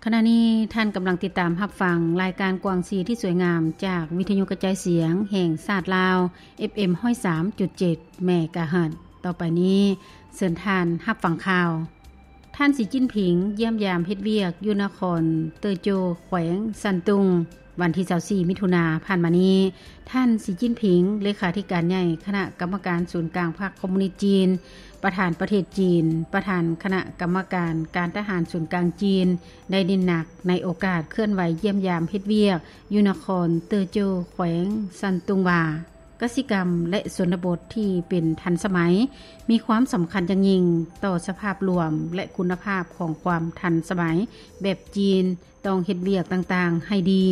ຂະນະນີ້ທ່ານກຳລັງຕິດຕາມຮັບຟັງລາຍການກວາງຊີທີ່ສວຍງາມ ຈາກວິທະຍຸກະຈາຍສຽງແຫ່ງຊາດລາວ ເອັຟເອັມ ຮ້ອຍສາມຈຸດເຈັດ ເມກາເຮີດ. ຕໍ່ໄປນີ້ເຊີນທ່ານຮັບຟັງຂ່າວ. ທ່ານ ສີ ຈິ້ນຜິງ ຢ້ຽມຢາມເຮັດວຽກຢູ່ນະຄອນເຕີໂຈ ແຂວງຊັນຕຸງ. ວັນທີຊາວສີ່ ມິຖຸນາຜ່ານມານີ້, ທ່ານ ສີ ຈິ້ນຜິງ ເລຂາທິການໃຫຍ່ຄະນະກຳມະການສູນກາງພັກຄອມມູນິດຈີນ, ປະທານປະເທດຈີນ, ປະທານຄະນະກຳມະການການທະຫານສູນກາງຈີນ ໄດ້ເນັ້ນໜັກໃນໂອກາດເຄື່ອນໄຫວຢ້ຽມຢາມເຮັດວຽກຢູ່ນະຄອນເຕີໂຈ ແຂວງຊັນຕຸງວ່າ ກະສິກຳ ແລະ ຊົນນະບົດທີ່ເປັນທັນສະໄໝ ມີຄວາມສຳຄັນຢ່າງຍິ່ງຕໍ່ສະພາບລວມ ແລະ ຄຸນນະພາບຂອງຄວາມທັນສະໄໝແບບຈີນ. ຕ້ອງເຮັດວຽກຕ່າງໆໃຫ້ດີ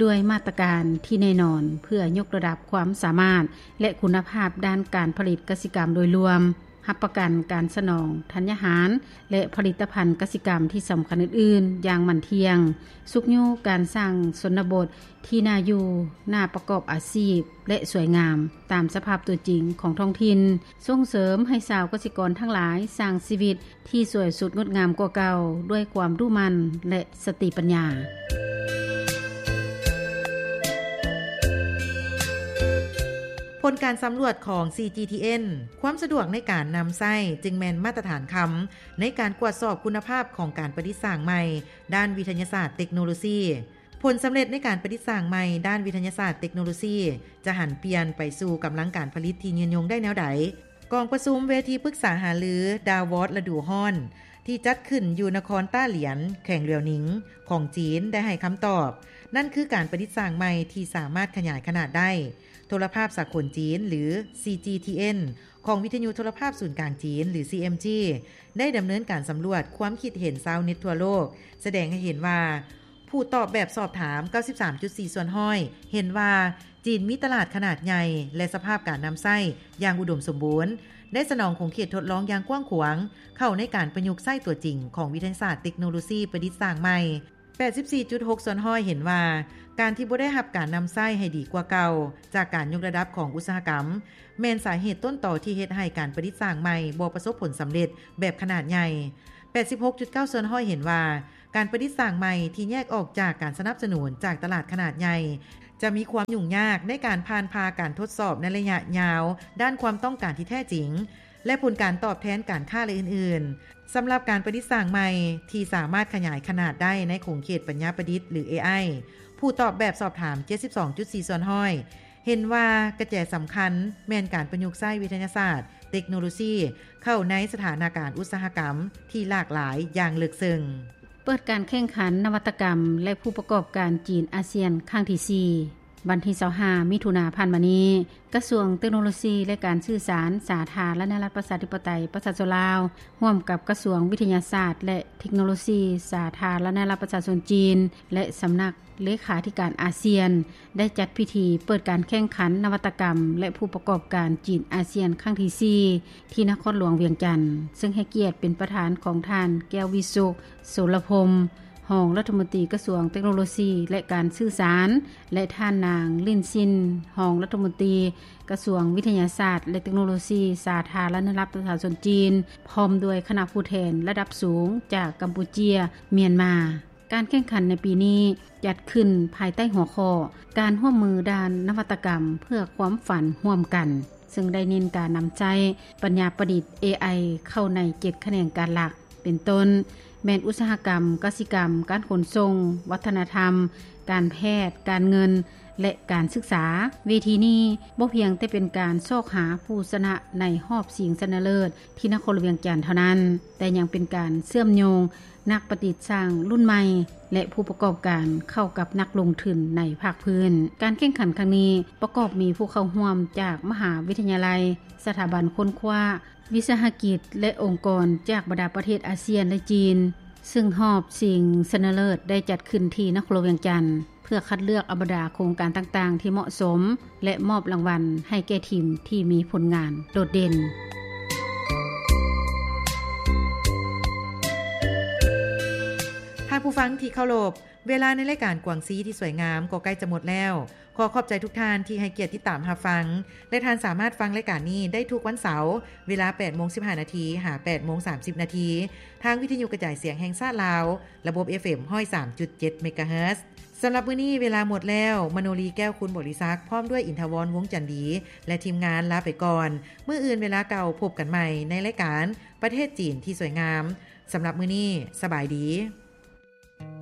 ດ້ວຍມາດຕະການທີ່ແນ່ນອນ ເພື່ອຍົກລະດັບຄວາມສາມາດ ແລະ ຄຸນນະພາບດ້ານການຜະລິດກະສິກຳໂດຍລວມ, ຮັບປະກັນການສະໜອງທັນຍາຫານ ແລະ ຜະລິດຕະພັນກະສິກຳທີ່ສຳຄັນອື່ນໆຢ່າງໝັ້ນທ່ຽງ, ຊຸກຍູ້ການສ້າງຊົນນະບົດທີ່ໜ້າຢູ່, ໜ້າປະກອບອາຊີບ ແລະ ສວຍງາມຕາມສະພາບຕົວຈິງຂອງທ້ອງຖິ່ນ, ສົ່ງເສີມໃຫ້ຊາວກະສິກອນທັງຫຼາຍສ້າງຊີວິດ ທີ່ສວຍສົດງົດງາມກວ່າເກົ່າ ດ້ວຍຄວາມດຸໝັ່ນ ແລະ ສະຕິປັນຍາ. ຜົນການສຳຫຼວດຂອງ CGTN ຄວາມສະດວກໃນການນຳໃຊ້ຈຶ່ງແມ່ນມາດຕະຖານຄຳໃນການກວດສອບຄຸນນະພາບຂອງການປະດິດສ້າງໃໝ່ດ້ານວິທະຍາສາດເຕັກໂນໂລຊີ. ຜົນສຳເລັດໃນການປະດິດສ້າງໃໝ່ດ້ານວິທະຍາສາດເຕັກໂນໂລຊີ ຈະຫັນປ່ຽນໄປສູ່ກຳລັງການຜະລິດທີ່ຍືນຍົງໄດ້ແນວໃດ? ກອງປະຊຸມເວທີປຶກສາຫາລື Davos ລະດູຮ້ອນ ທີ່ຈັດຂຶ້ນຢູ່ນະຄອນຕ້າຫຼຽນ ແຂວງຫຼຽວໜິງ ຂອງຈີນ ໄດ້ໃຫ້ຄຳຕອບ, ນັ້ນຄືການປະດິດສ້າງໃໝ່ທີ່ສາມາດຂະຫຍາຍຂະໜາດໄດ້. ໂທລະພາບສາກົນຈີນ ຫຼື CGTN ຂອງວິທະຍຸໂທລະພາບສູນກາງຈີນ ຫຼື CMG ໄດ້ດຳເນີນການສຳຫຼວດຄວາມຄິດເຫັນຊາວເນັດທົ່ວໂລກ ສະແດງໃຫ້ເຫັນວ່າ ຜູ້ຕອບແບບສອບຖາມ ເກົ້າສິບສາມຈຸດສີ່ສ່ວນຮ້ອຍ ເຫັນວ່າ ຈີນມີຕະຫຼາດຂະໜາດໃຫຍ່ ແລະ ສະພາບການນຳໃຊ້ຢ່າງອຸດົມສົມບູນ, ໄດ້ສະໜອງຂົງເຂດທົດລອງຢ່າງກວ້າງຂວາງ ເຂົ້າໃນການປະຍຸກໃຊ້ຕົວຈິງຂອງວິທະຍາສາດເຕັກໂນໂລຊີປະດິດສ້າງໃໝ່. ແປດສິບສີ່ຈຸດຫົກສ່ວນຮ້ອຍເຫັນວ່າ ການທີ່ບໍ່ໄດ້ຮັບການນຳໃຊ້ໃຫ້ດີກວ່າເກົ່າ ຈາກການຍົກລະດັບຂອງອຸດສາຫະກຳ ແມ່ນສາເຫດຕົ້ນຕໍທີ່ເຮັດໃຫ້ການປະດິດສ້າງໃໝ່ບໍ່ປະສົບຜົນສຳເລັດແບບຂະໜາດໃຫຍ່. ແປດສິບຫົກຈຸດເກົ້າສ່ວນຮ້ອຍເຫັນວ່າ ການປະດິດສ້າງໃໝ່ທີ່ແຍກອອກຈາກການສະໜັບສະໜູນຈາກຕະຫຼາດຂະໜາດໃຫຍ່ ຈະມີຄວາມຫຍຸ້ງຍາກໃນການຜ່ານຜ່າການທົດສອບໃນໄລຍະຍາວ ດ້ານຄວາມຕ້ອງການທີ່ແທ້ຈິງ ແລະ ຜົນການຕອບແທນການຄ້າ ແລະ ອື່ນໆ. ສຳລັບການປະດິດສ້າງໃໝ່ທີ່ສາມາດຂະຫຍາຍຂະໜາດໄດ້ໃນຂົງເຂດປັນຍາປະດິດ ຫຼື ເອໄອ ຜູ້ຕອບແບບສອບຖາມ ເຈັດສິບສອງຈຸດສີ່ສ່ວນຮ້ອຍ ເຫັນວ່າກະແຈສຳຄັນແມ່ນການປະຍຸກໃຊ້ວິທະຍາສາດ ເຕັກໂນໂລຊີ ເຂົ້າໃນສະຖານະການອຸດສາຫະກຳທີ່ຫຼາກຫຼາຍຢ່າງເລິກເຊິ່ງ. ເປີດການແຂ່ງຂັນນະວັດຕະກຳ ແລະ ຜູ້ປະກອບການຈີນອາຊຽນຄັ້ງທີສີ່. ວັນທີຊາວຫ້າ ມິຖຸນາຜ່ານມານີ້, ກະຊວງເຕັກໂນໂລຊີ ແລະ ການສື່ສານ ສາທາລະນະລັດປະຊາທິປະໄຕປະຊາຊົນລາວ ຮ່ວມກັບກະຊວງວິທະຍາສາດ ແລະ ເຕັກໂນໂລຊີ ສາທາລະນະລັດປະຊາຊົນຈີນ ແລະ ສຳນັກ ເລຂາທິການອາຊຽນ ໄດ້ຈັດພິທີເປີດການແຂ່ງຂັນນະວັດຕະກຳ ແລະ ຜູ້ປະກອບການຈີນອາຊຽນຄັ້ງທີສີ່ ທີ່ນະຄອນຫຼວງວຽງຈັນ, ເຊິ່ງໃຫ້ກຽດເປັນປະທານຂອງທ່ານ ແກ້ວວິສຸກ ໂສລະພົມ ຮອງລັດຖະມົນຕີກະຊວງເຕັກໂນໂລຊີ ແລະ ການສື່ສານ ແລະ ທ່ານນາງ ລິນຊິນ ຮອງລັດຖະມົນຕີກະຊວງວິທະຍາສາດ ແລະ ເຕັກໂນໂລຊີ ສາທາລະນະລັດປະຊາຊົນຈີນ ພ້ອມດ້ວຍຄະນະຜູ້ແທນລະດັບສູງຈາກກຳປູເຈຍ, ມຽນມາ. ການແຂ່ງຂັນໃນປີນີ້ຈັດຂຶ້ນພາຍໃຕ້ຫົວຂໍ້ ການຮ່ວມມືດ້ານນະວັດຕະກຳເພື່ອຄວາມຝັນຮ່ວມກັນ, ເຊິ່ງໄດ້ເນັ້ນການນຳໃຊ້ປັນຍາປະດິດ ເອໄອ ເຂົ້າໃນເຈັດຂະແໜງການຫຼັກ ເປັນຕົ້ນ ແມ່ນອຸດສາຫະກຳ, ກະສິກຳ, ການຂົນສົ່ງ, ວັດທະນະທຳ, ການແພດ, ການເງິນ ແລະ ການສຶກສາ. ເວທີນີ້ບໍ່ພຽງແຕ່ເປັນການຊອກຫາຜູ້ຊະນະໃນຮອບຊິງຊະນະເລີດທີ່ນະຄອນຫຼວງວຽງຈັນເທົ່ານັ້ນ, ແຕ່ຍັງເປັນການເຊື່ອມໂຍງ ນັກປະດິດສ້າງລຸ້ນໃໝ່ ແລະ ຜູ້ປະກອບການເຂົ້າກັບນັກລົງທຶນໃນພາກພື້ນ. ການແຂ່ງຂັນຄັ້ງນີ້ປະກອບມີຜູ້ເຂົ້າຮ່ວມຈາກມະຫາວິທະຍາໄລ, ສະຖາບັນຄົ້ນຄວ້າ, ວິສາຫະກິດ ແລະ ອົງກອນຈາກບັນດາປະເທດອາຊຽນ ແລະ ຈີນ, ເຊິ່ງຮອບຊິງຊະນະເລີດໄດ້ຈັດຂຶ້ນທີ່ນະຄອນຫຼວງວຽງຈັນ ເພື່ອຄັດເລືອກເອົາບັນດາໂຄງການຕ່າງໆທີ່ເໝາະສົມ ແລະ ມອບລາງວັນໃຫ້ແກ່ທີມທີ່ມີຜົນງານໂດດເດັ່ນ. ທ່ານຜູ້ຟັງທີ່ເຄົາລົບ, ເວລາໃນລາຍການກວາງຊີທີ່ສວຍງາມກໍໃກ້ຈະໝົດແລ້ວ. ຂໍຂອບໃຈທຸກທ່ານທີ່ໃຫ້ກຽດຕິດຕາມຮັບຟັງ ແລະ ທ່ານສາມາດຟັງລາຍການນີ້ໄດ້ທຸກວັນເສົາ ເວລາແປດໂມງສິບຫ້ານາທີ ຫາ ແປດໂມງສາມສິບນາທີ ທາງວິທະຍຸກະຈາຍສຽງແຫ່ງຊາດລາວ ລະບົບ ເອຟເອັມ ຮ້ອຍສາມຈຸດເຈັດ ເມກາເຮີດ. ສຳລັບມື້ນີ້ເວລາໝົດແລ້ວ, ມະໂນລີ ແກ້ວຄຸນ ບໍລິສັກ ພ້ອມດ້ວຍ ອິນທະວອນ ວົງຈັນດີ ແລະ ທີມງານລາໄປກ່ອນ. ມື້ອື່ນເວລາເກົ່າພົບກັນໃໝ່ໃນລາຍການປະເທດຈີນທີ່ສວຍງາມ. ສຳລັບມື້ນີ້, ສະບາຍດີ.